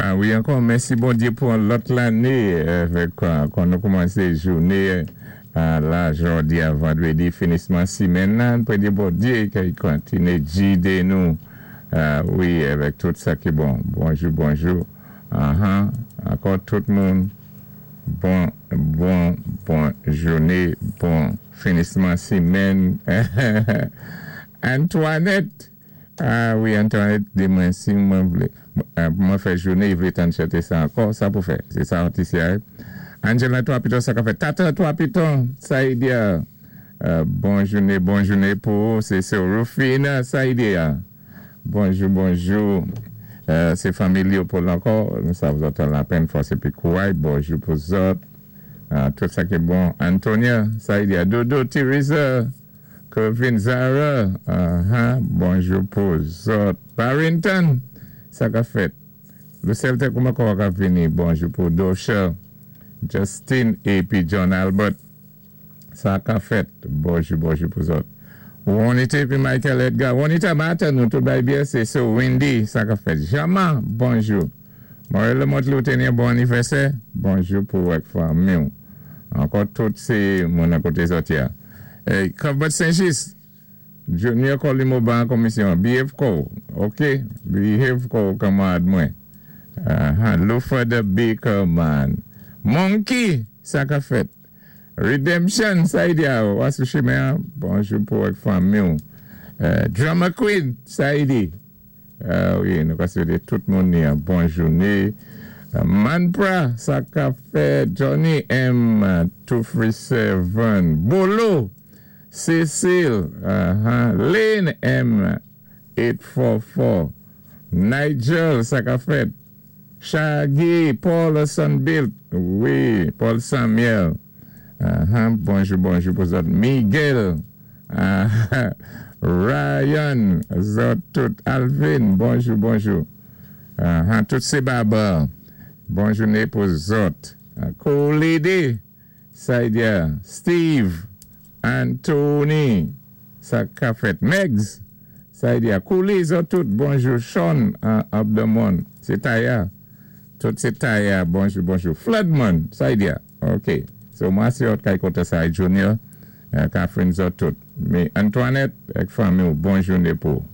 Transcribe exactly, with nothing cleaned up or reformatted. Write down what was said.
Ah wi, ankò mèsi Bondyé pou yon lòt lanné avèk kon nou koumansé jouné la jòdi a vandwédi finisman simenn nan pwé di Bondyé ki kontiné gidé nou wi avèk tout sa ki bon bonjou bonjou uh-huh ankò tout moun bon bon bon jouné bon finisman simenn Antoinette ah wi Antoinette di mwen si mwen vlé mwen fè jouné vlé tann chanté sa ankò sa pou fè sé sa atis ya Angela Trois Pitons sa ka fèt Tata Trois Pitons Saïdia bon jouné bon jouné pou ou sé sè Rufina Saïdia bonjou bonjou sé fanmi Léopold ankò nou sav zòt an lapenn fòs épi kouray bonjou pou zòt tout sa ki bon Antonia Saïdia Dodo Teresa Kevin Zara uh-huh bonjou pou zòt Barrington sa ka fèt Lucelle te kouman kò ka vini bonjou pou Dosha Justin épi John Albert sa ka fèt bonjou bonjou pou zòt Juanita épi Michael Edgar Juanita maten nou tout bay byen sé sè Wendy sa ka fèt Jama bonjou Morel Lamothe ou té bon anivèsè bonjou pou ak fanmi ankò tout sé moun akoté zòt ya Cuthbert Saint-Just Junior Colimo ban komisyon behave ko ok behave ko kanmarad mwen uh-huh Lufa the Baker man Monkey sa ka fèt Redemption Saïdia wa sou chimen bonjou pou ak fanmi Drama Queen Saïdi wi nou ka swété tout moun ni bon jouné Manpra sa ka fèt Johnny M two three seven Bolo Cecile uh-huh Lane M eight four four Nigel sa ka fèt Shaggy Paul Sunbilt wi Paul Samuel uh-huh bonjou bonjou pou zòt Miguel uh-huh Ryan zòt tout Alvin bonjou bonjou uh-huh tout sé Baba bon jouné pou zòt Cool Lady Saïdia Steve Anthony sa ka fèt Megs Saïdia Kouli zòt tout bonjou Sean Abdamon sé Taya tout sé Taya bonjou bonjou Floodman Saïdia ok so mwen sé zòt kay koté sa Junior Catherine zòt tout mé Antoinette ak fanmi bon jouné pou